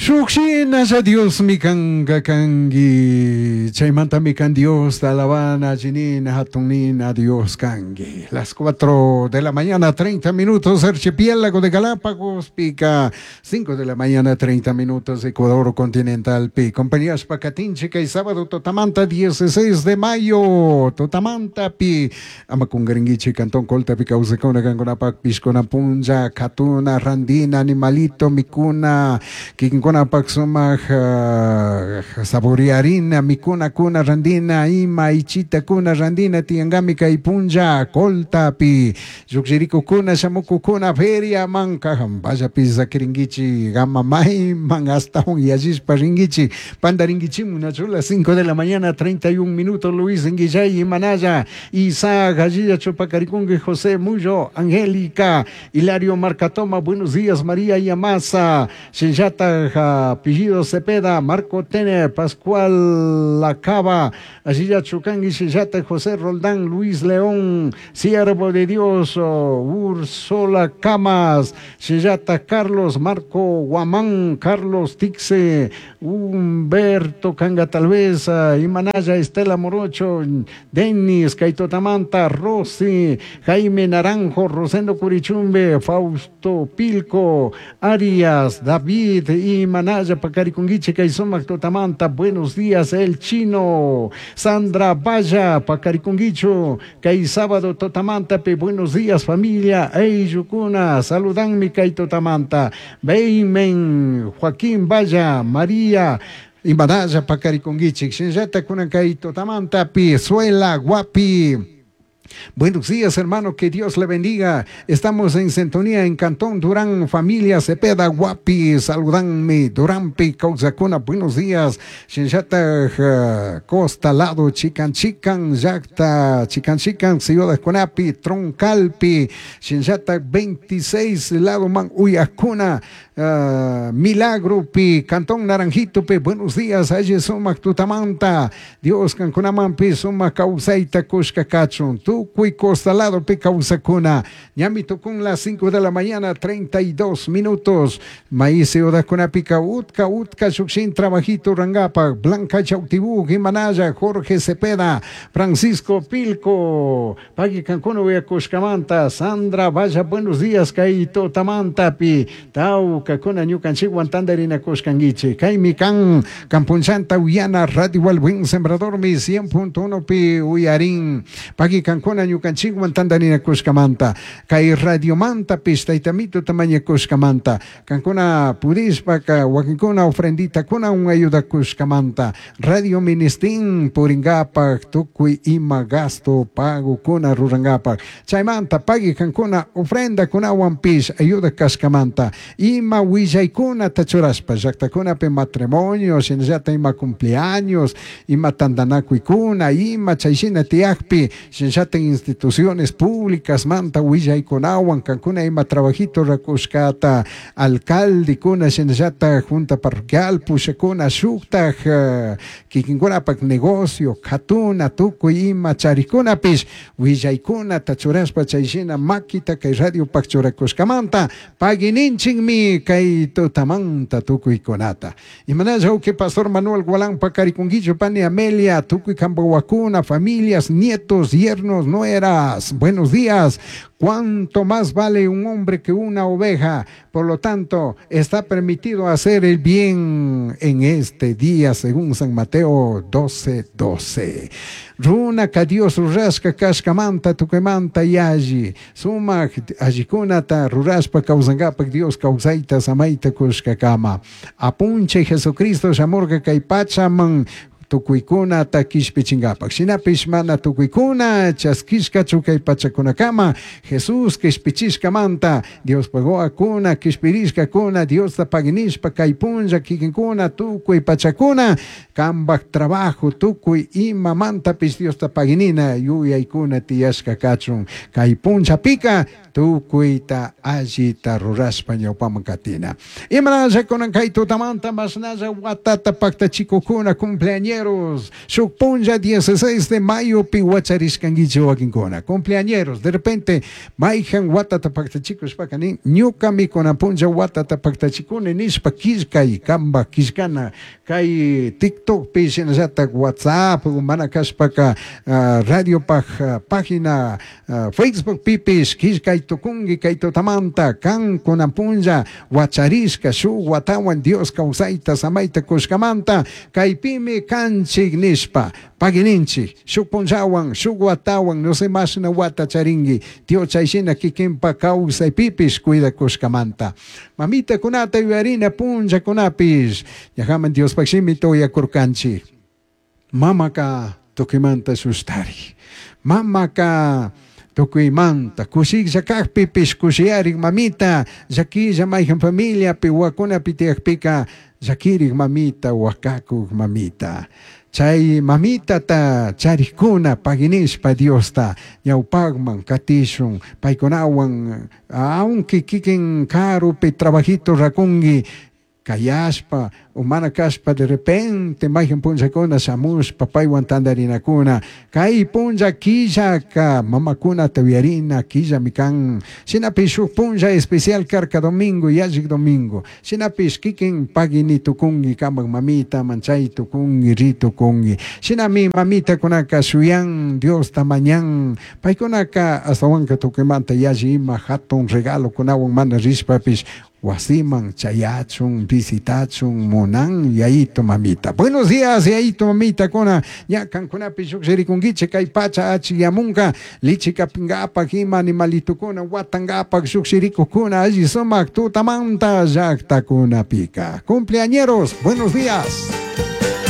Shuk shinalla Diosmi kanka kanki. Chaymantami kan Diosta alabana, allinina, hatunina Dios kanki. Las 4 de la mañana, 30 minutos, archipiélago de Galápagos, pica. 5 de la mañana, 30 minutos, Ecuador continental, pi. Compañías Pacatinchica y sábado Totamanta, 16 de mayo, Totamanta, pi. Ama qunqaringuichi, Cantón Colta, pi, kawsakuna, kankunapak, pishkuna, punlla, katuna, randina, animalito, mikuna, kikinkunapak sumak saborearina, mikuna, kuna, randina, ima, ichita, kuna, randina, tiyankami, kay punlla, Coltapi, llukshirikukuna, shamukukuna, feria, manka, vallapi sakiringuichi, gama mayman, hasta yallishpa ringuichi, pandaringuichimun, las 5 de la mañana, 31 minutos, Luis Nguillay, Manaya, Isaac, Gallilla, Chupacarikungue, José Muyo, Angélica, Hilario Marcatoma, buenos días, María Yamasa, Shillata, apellido Cepeda, Marco Tener, Pascual Lacaba, Allilla Chucangui, Shillata, José Roldán, Luis León, Siervo de Dios, Úrsula Camas, Shillata, Carlos, Marco Guamán, Carlos Tixe, Humberto Canga Talvez, Imanaya, Estela Morocho, Denis, Kaitotamanta, Rosy, Jaime Naranjo, Rosendo Curichumbe, Fausto Pilco, Arias, David, Imanaya, Pacarikunguiche, Kaisomac, Totamanta, buenos días, El Chino, Sandra Valla, Pacarikunguicho, Kay sábado Totamanta, pe, buenos días, familia, Eyukuna, saludanmi, Kay Totamanta, Beimen, Joaquín Valla, María, Imanaya, Pacarikunguiche, Shinllata, Kunan, Kay Totamanta, pi, Suela, Guapi. Buenos días, hermano, que Dios le bendiga. Estamos en sintonía en Cantón Durán, familia Cepeda, Guapi, saludanme, Duranpi, Cauzacuna, buenos días. Shinllata, Costa, Lado, Chican, Chican, Yacta, Chican, Chican, Ciudad Cunapi, Troncalpi, Shinllata, 26, Lado Man, Uyacuna, Milagro, pi, Cantón Naranjito, pi, buenos días, Aye, Sumac, Tutamanta, Dios, Cancunaman, pi, Sumac, Causaita, Cushka, Cachun, Tucuy, Costa, Lado, pi, Causacuna, Ñamito con las 5 de la mañana, 32 minutos, Maíz, Ciudad Cunapica, Utka, Utka, Shukshin, Trabajito, Rangapa, Blanca, Chautibú, Jimanaya, Jorge Cepeda, Francisco Pilco, Pagui Cancún, Uyacushcamanta, Sandra, vaya, buenos días, Kaito, Tamanta, pi, Tau, Cacuna, Ñucanchiguan, Tandarina, Cuscanguiche, Kaimi Can, Campunchanta, Uyana, Radio El Buen Sembrador, mi 100.1 pi, Uyarín, Pagui Cancuna, Ñucanchiguan, Tandarina, Cuscamanta, Kai Radio Manta, Pista, Itamito, Tamaña, Cuscamanta, Cancuna, Purispa, Huaquincuna, ofrendita, Cuna, un ayuda, Cuscamanta, Radio Ministín, Puringapa, Tucui, Ima, Gasto, Pago, Cuna, Rurangapa, Chaymanta, Pagui, Cancuna, ofrenda, Cuna, Pish, ayuda, Cascamanta, Ima, Huillaykuna, Tachuraspa, Llaqtakunapi matrimonio, shinallata ima cumpleaños, ima tantanakuykuna, ima chayshina tiyakpi, shinallata instituciones públicas, manta, willaykunawan, kankuna ima trabajito rakushkata, alcaldekuna, shinallata junta parroquial, pushakuna, shuktaj, kikinkunapak negocio, katuna, tukuy ima charikunapish, willaykuna tachuraspa chayshina makita kay radiopak churakushkamanta, paguininchikmi kay tutamanta tukuykunata. Imanalla uke Pastor Manuel Gualán Pacarikunguillo, Pani Amelia, tukuy Cambahuacuna, familias, nietos, yernos, nueras. Buenos días. ¿Cuánto más vale un hombre que una oveja? Por lo tanto, está permitido hacer el bien en este día, según San Mateo 12:12. Runa ka Dios rurashka kashkamanta tukuymanta yalli sumak allikunata rurashpa kawsankapak Dios kawsayta samayta kushkakama. Apunchik Jesucristo shamurka kay pachaman tukuykunata kishpichinkapak. Shinapish mana tukuykuna chaskishkachu kay pachakunakama Jesús kishpichishkamanta Dios pagowakuna kishpirishkakuna Diosta paginishpa kay punlla kikinkuna tukuy pachakuna kambak trabajo tukuy imamantapish Diosta paginina yuyaykuna tiyashka kachun kay punllapika. Tukuyta allita rurashpa ñawpaman katina. Imanalla kunan kay tutamanta mashnalla watata paktachikukuna cumpleañeros, shuk punlla 16 de mayopi wacharishkankichik wakinkuna. Cumpleañeros, de repente mayhan watata paktachikushpaka nin, ñukami kunan punlla watata paktachikuni nishpa killkay kanpak killkana kay TikTokpi shinallatak WhatsApp mana kashpaka radiopaj página Facebookpipish killkay tukunki kay tutamanta kan kunan punlla wacharishka shuk watawan Dios kawsayta samayta kushkamanta kaypimi kanchik nishpa pagininchik shuk punllawan shuk watawan no sé mashna wata charinki Dios chay shina kikinpa kawsaypipish cuidakushkamanta. Mamitakunata yuyarina punllakunapish ñajaman Diospaj shimita uyakurkanchik. Mamaka tukuymanta shushtarik. Mamaka tukuymanta kushiklla kakpipish kushiyarik mamita, llakilla mayhan familiapi wawakunapi tiyakpika llakirik mamita, wakakuk mamita. Chay mamitata charikuna paginishpa Diosta ñawpakman katishun paykunawan aunque kikin karupi trabajito rakunki kayashpa o mana kashpa de repente mayhan punllakuna shamushpa paywan tantarinakuna kay punlla killaka mamakunata uyarina killami kan shinapish shuk punlla especial karka domingo yallik domingo shinapish kikin pagini tukunki kanpak mamitaman chay tukunki ri tukunki shinami mamitakunaka shuyan Diosta mañan paykunaka ashtawanka tukuymanta yalli ima hatun regalokunawan mana rishpapish wasiman chayachun visitachun munan yayito mamita. Buenos días yayito mamita kuna ña kankunapi llukshirikunkichik kay pacha achikyamunka lichikapinkapak ima animalitukuna watankapak llukshirikukuna alli sumak tutamanta llaktakunapika. Cumpleañeros, buenos días.